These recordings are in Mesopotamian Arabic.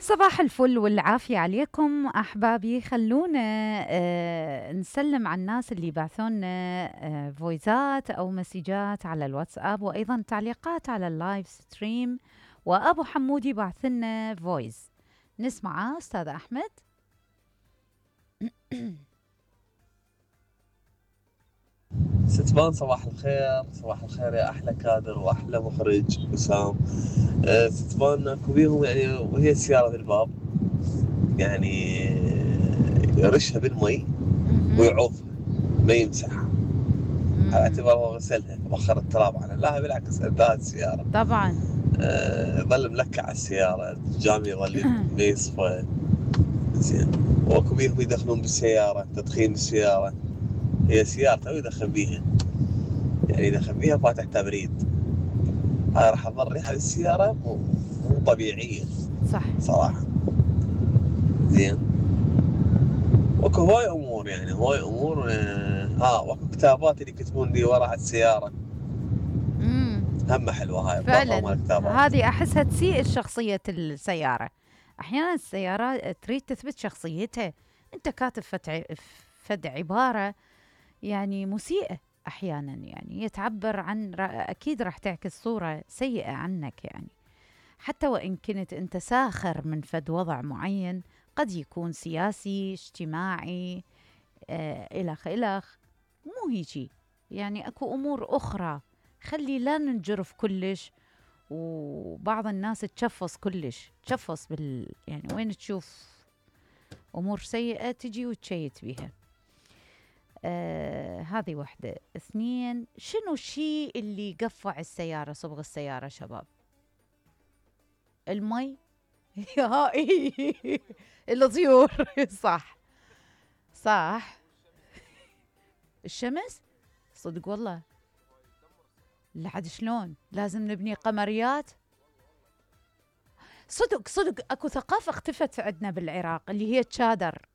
صباح الفل والعافية عليكم أحبابي. خلونا نسلم على الناس اللي بعثونا فويزات أو مسجات على الواتساب، وأيضا تعليقات على اللايف ستريم. وأبو حمودي بعثنا فويز نسمعه. أستاذ أحمد. ستبان صباح الخير، صباح الخير يا أحلى كادر وأحلى مخرج وسام. ستبان اكو بيهم يعني وهي السيارة بالباب، يعني يرشها بالمي ويعوفها ما يمسحها على اعتبار هو غسلها وخر التراب عنها. لا بالعكس انتهت السيارة طبعا. ظل ملكع على السيارة، الجام يظل ما يصفى زين. واكو بيهم يدخلون بالسيارة تدخين السيارة، هي سيارته ويدخن بيها، يعني يدخن بيها فاتح تبريد. هاي راح تظل ريحة السيارة مو طبيعية صح صراحة. زين. واكو هواي امور، يعني هواي امور. واكو كتابات اللي يكتبون لي ورا على السيارة، هم حلوة هاي فعلا. مال الكتابات. هذه أحسها تسيء شخصية السيارة. أحيانا السيارة تريد تثبت شخصيتها، أنت كاتب فد عبارة يعني مسيئة أحيانا، يعني يتعبر عن أكيد راح تعكس صورة سيئة عنك، يعني حتى وإن كنت أنت ساخر من فد وضع معين، قد يكون سياسي اجتماعي إلخ إلخ، مو هيجي. يعني أكو أمور أخرى، خلي لا ننجرف كلش. وبعض الناس تشفص كلش، تشفص يعني وين تشوف أمور سيئة تجي وتشيت بيها. هذه واحدة. اثنين، شنو الشيء اللي قفع السيارة، صبغ السيارة شباب؟ المي. الطيور. صح صح. الشمس. صدق والله. لحد شلون لازم نبني قمريات. صدق صدق اكو ثقافة اختفت عندنا بالعراق اللي هي تشادر،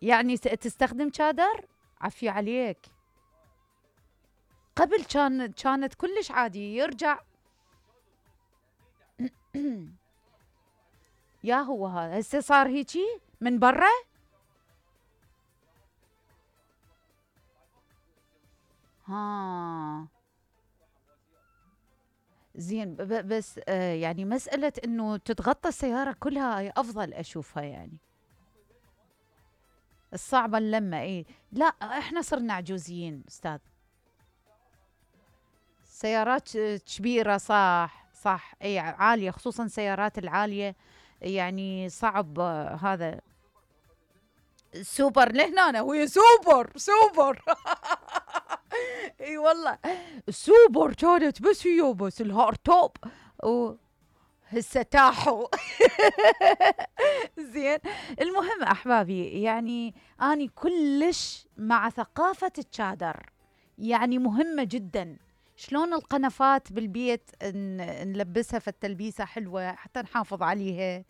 يعني تستخدم تشادر. عفي عليك. قبل كانت كلش عادي يرجع. يا هو هذا هسه صار هيجي من برا. ها زين. بس يعني مسألة انه تتغطى السيارة كلها افضل اشوفها، يعني الصعبة اللمة. ايه لا احنا صرنا عجوزيين استاذ. سيارات كبيرة صح صح، اي عالية، خصوصا سيارات العالية، يعني صعب هذا. سوبر لهنا وهي سوبر سوبر. اي والله السوبر كانت بس هي بس الهار توب هسه تاحوا. زين. المهم احبابي، يعني اني كلش مع ثقافة التشادر، يعني مهمة جدا. شلون القنفات بالبيت نلبسها في التلبيسة حلوة حتى نحافظ عليها.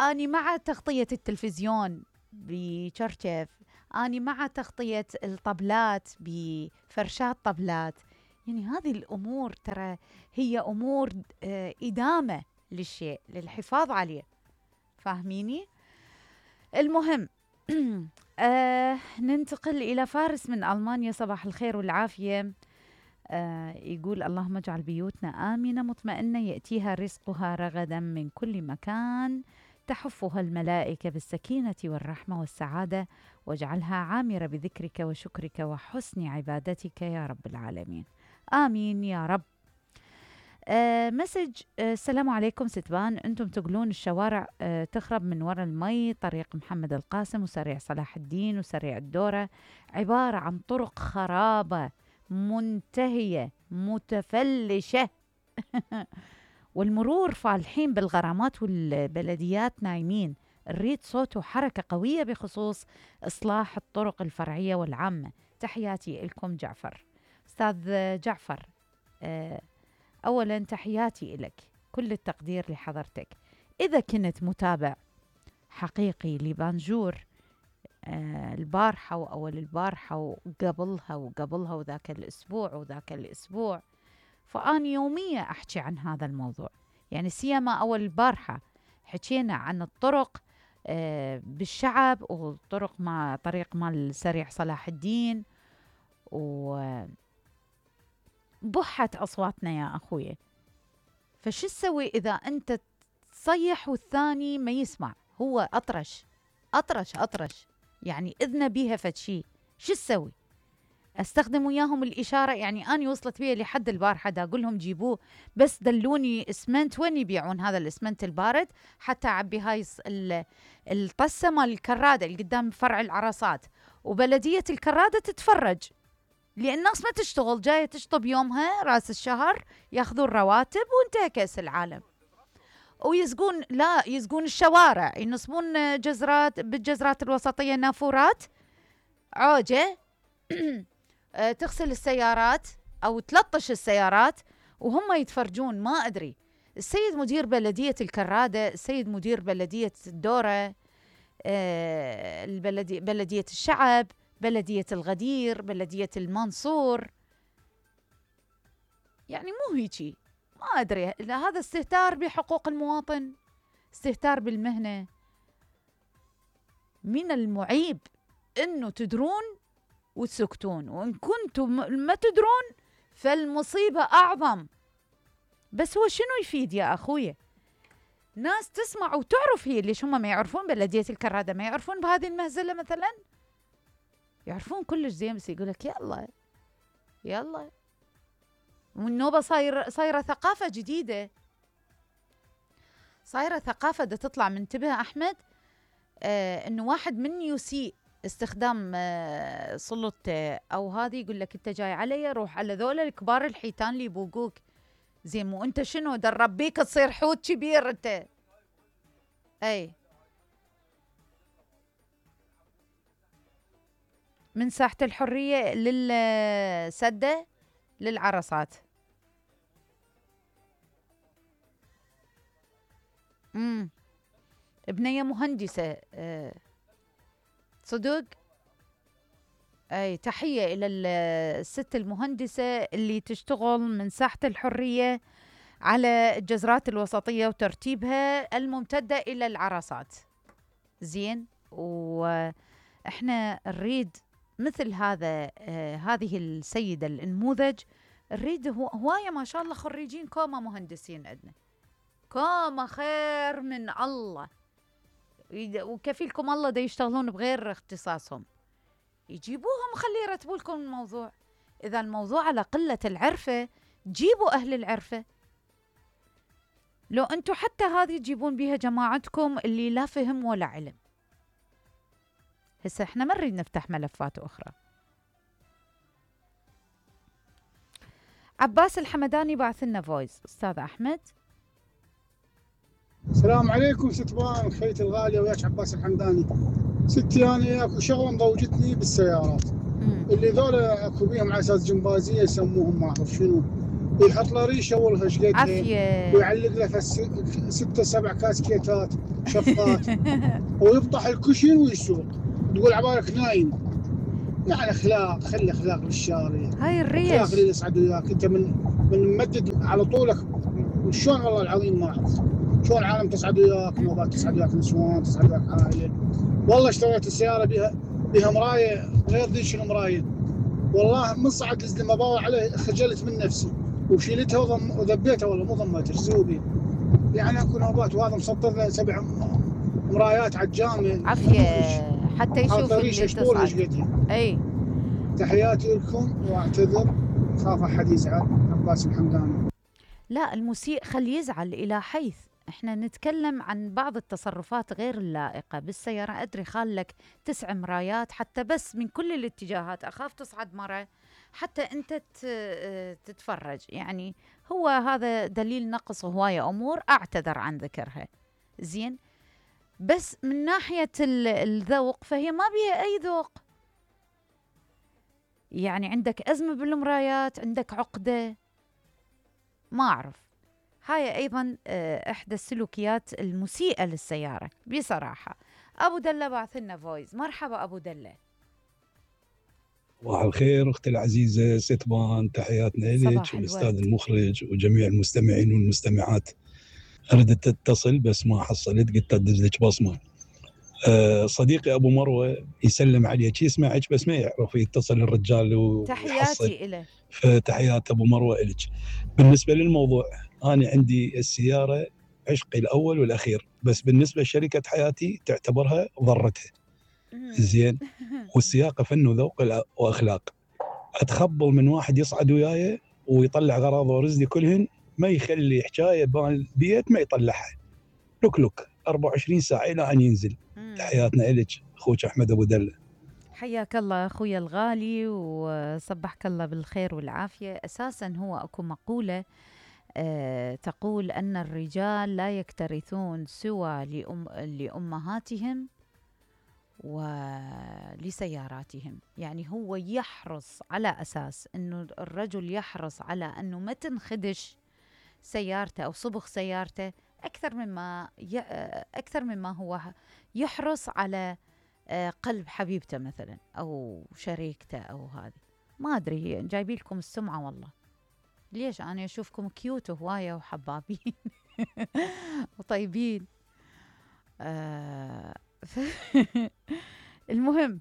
اني مع تغطية التلفزيون بشرشف، اني مع تغطية الطبلات بفرشات طبلات. يعني هذه الامور ترى هي امور ادامة للشيء، للحفاظ عليه. فاهميني؟ المهم. ننتقل إلى فارس من ألمانيا. صباح الخير والعافية. يقول اللهم اجعل بيوتنا آمنة مطمئنة يأتيها رزقها رغدا من كل مكان، تحفها الملائكة بالسكينة والرحمة والسعادة، واجعلها عامرة بذكرك وشكرك وحسن عبادتك يا رب العالمين. آمين يا رب. مسج. السلام عليكم ستبان، انتم تقولون الشوارع تخرب من وراء المي. طريق محمد القاسم وسريع صلاح الدين وسريع الدورة عبارة عن طرق خرابة منتهية متفلشة. والمرور فالحين بالغرامات والبلديات نايمين. نريد صوت وحركة قوية بخصوص إصلاح الطرق الفرعية والعامة. تحياتي لكم جعفر. أستاذ جعفر، أولا تحياتي لك، كل التقدير لحضرتك. إذا كنت متابع حقيقي لبانجور البارحة وأول البارحة وقبلها وقبلها وذاك الأسبوع وذاك الأسبوع، فأنا يوميا أحكي عن هذا الموضوع. يعني سيما أول البارحة حكينا عن الطرق بالشعب، وطرق مع طريق مال سريع صلاح الدين، وبحت أصواتنا يا أخوي. فشو تسوي إذا أنت تصيح والثاني ما يسمع؟ هو أطرش يعني إذنه بيها فشي، شو تسوي؟ استخدم وياهم الاشاره. يعني انا وصلت بي لحد البارحه دا اقول لهم جيبوه، بس دلوني اسمنت، وين يبيعون هذا الاسمنت البارد حتى اعبي هاي الطسه مال الكراده اللي قدام فرع العرصات. وبلديه الكراده تتفرج، لان الناس ما تشتغل، جايه تشطب يومها راس الشهر، ياخذون رواتب وانتهى كاس العالم. ويزقون، لا يزقون الشوارع، ينصبون جزرات بالجزرات الوسطيه، نافورات عوجه تغسل السيارات أو تلطش السيارات وهم يتفرجون. ما أدري، السيد مدير بلدية الكرادة، السيد مدير بلدية الدورة، بلدية الشعب، بلدية الغدير، بلدية المنصور، يعني مو هيجي. ما أدري، هذا استهتار بحقوق المواطن، استهتار بالمهنة. من المعيب أنه تدرون وتسكتون، وإن كنتم ما تدرون فالمصيبة أعظم. بس هو شنو يفيد يا أخويا؟ ناس تسمع وتعرف، هي ليش هم ما يعرفون؟ بلدية الكرادة ما يعرفون بهذه المهزلة مثلا؟ يعرفون كلش زين، بس يقولك يلا. والنوبة صايرة ثقافة جديدة، صايرة ثقافة دا تطلع. منتبه أحمد، إنه واحد من يسيء استخدام سلطته أو هذه، يقول لك أنت جاي علي، روح على ذولا الكبار الحيتان اللي يبوقوك. زين، مو أنت شنو درب بيك تصير حوت كبير أنت؟ أي من ساحة الحرية للسدة للعرصات. ابنية مهندسة صدق. أي تحية إلى الست المهندسة اللي تشتغل من ساحة الحرية على الجزرات الوسطية وترتيبها الممتدة إلى العرصات. زين، وإحنا نريد مثل هذا هذه السيدة النموذج. نريد هواية ما شاء الله خريجين كوما مهندسين عندنا، كوما خير من الله، وكفيلكم الله دا يشتغلون بغير اختصاصهم. يجيبوهم خلي يرتبوا لكم الموضوع. إذا الموضوع على قلة العرفة، جيبوا أهل العرفة. لو أنتوا حتى هذه تجيبون بيها جماعتكم اللي لا فهم ولا علم. هسه احنا ما نريد نفتح ملفات أخرى. عباس الحمداني بعث لنا فويس. أستاذ أحمد. السلام عليكم ستبان خيتي الغالية، وياك عباس الحمداني. ستي أنا اكو شغلة مضوجتني بالسيارات، اللي ذولا اكو بيهم على اساس جمبازية يسموهم، ما اعرف شنو، يحط له ريشه والله ايش قدها، ويعلق له 6 7 كاسكيتات شفات ويفضح الكشن ويسوق. تقول عبالك نايم. يعني اخلاق، خلي اخلاق بالشارع، هاي الريش اخلاق اللي يسعد وياك. انت من ممدد على طولك، شلون والله العظيم ما اعرف شلون العالم تسعد وياك، نوبات تسعد وياك، نسوان تسعد وياك، عائله. والله اشتريت السياره بها مرايه غير ذيك المرايه، والله من صعد لما باوع عليه خجلت من نفسي وشيلتها وذبيتها، والله مو ضميتها زوبي. يعني اكو نوبات وهذا مسطر له 7 مرايات على الجامع، عافيه حتى يشوف اللي تصعد. اي تحياتي لكم واعتذر، خاف احد يزعل. عباس الحمداني. لا، المسيء خلي يزعل إلى حيث احنا نتكلم عن بعض التصرفات غير اللائقة بالسيارة. أدري خالك 9 مرايات حتى بس من كل الاتجاهات، أخاف تصعد مرة حتى أنت تتفرج. يعني هو هذا دليل نقص هواية أمور أعتذر عن ذكرها. زين، بس من ناحية الذوق فهي ما بيها أي ذوق. يعني عندك أزمة بالمرايات، عندك عقدة، ما أعرف. هاي أيضا إحدى السلوكيات المسيئة للسيارة بصراحة. أبو دلة بعث لنا فويس. مرحبا أبو دلة. صباح الخير أختي العزيزة ستبان، تحياتنا لك صباح والأستاذ الورد. المخرج وجميع المستمعين والمستمعات. أردت أتصل بس ما حصلت، قلت أدز لك بصمة. صديقي أبو مروة يسلم عليك، يسمعك بس ما يعرف يتصل الرجال ويحصل. تحياتي إله. فتحيات أبو مروة إلك. بالنسبة للموضوع، أنا عندي السيارة عشقي الأول والأخير، بس بالنسبة لشركة حياتي تعتبرها ضرتها. زين. والسياقة فن وذوق وأخلاق. أتخبل من واحد يصعد وياي ويطلع غراضه ورزقي كلهن، ما يخلي حكاية بالبيت ما يطلعها، لك 24 ساعة إلى أن ينزل. تحياتنا إلك أخوك أحمد أبو دلة. حياك الله أخوي الغالي وصبحك الله بالخير والعافية. أساسا هو أكو مقولة تقول أن الرجال لا يكترثون سوى لأمهاتهم ولسياراتهم. يعني هو يحرص على أساس أنه الرجل يحرص على أنه ما تنخدش سيارته أو صبغ سيارته أكثر مما هو يحرص على قلب حبيبته مثلا أو شريكته أو هذه. ما أدري جايبي لكم السمعة والله، ليش أنا أشوفكم كيوت هواية وحبابين وطيبين. المهم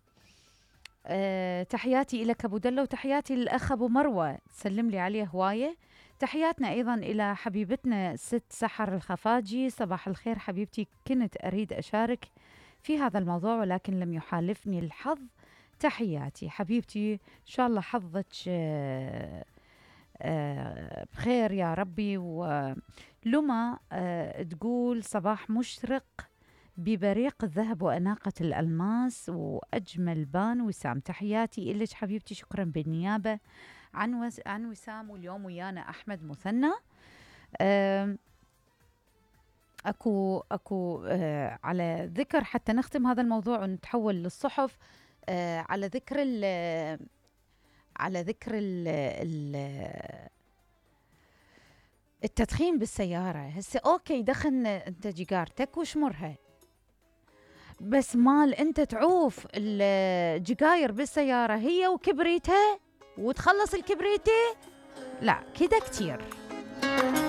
تحياتي إلك أبو دلة وتحياتي للأخ أبو مروة، سلم لي عليه هواية. تحياتنا أيضا إلى حبيبتنا ست سحر الخفاجي. صباح الخير حبيبتي، كنت أريد أشارك في هذا الموضوع ولكن لم يحالفني الحظ. تحياتي حبيبتي، إن شاء الله حظك بخير يا ربي. ولما تقول صباح مشرق ببريق الذهب وأناقة الألماس وأجمل بان وسام. تحياتي إلك حبيبتي، شكرا بالنيابة عن وسام. واليوم ويانا أحمد مثنى. أكو على ذكر حتى نختم هذا الموضوع ونتحول للصحف. على ذكر التدخين بالسيارة. هسه أوكي دخن أنت جيجارتك وشمرها، بس مال أنت تعوف الجيجاير بالسيارة هي وكبريتها وتخلص الكبريتة، لا كده كتير.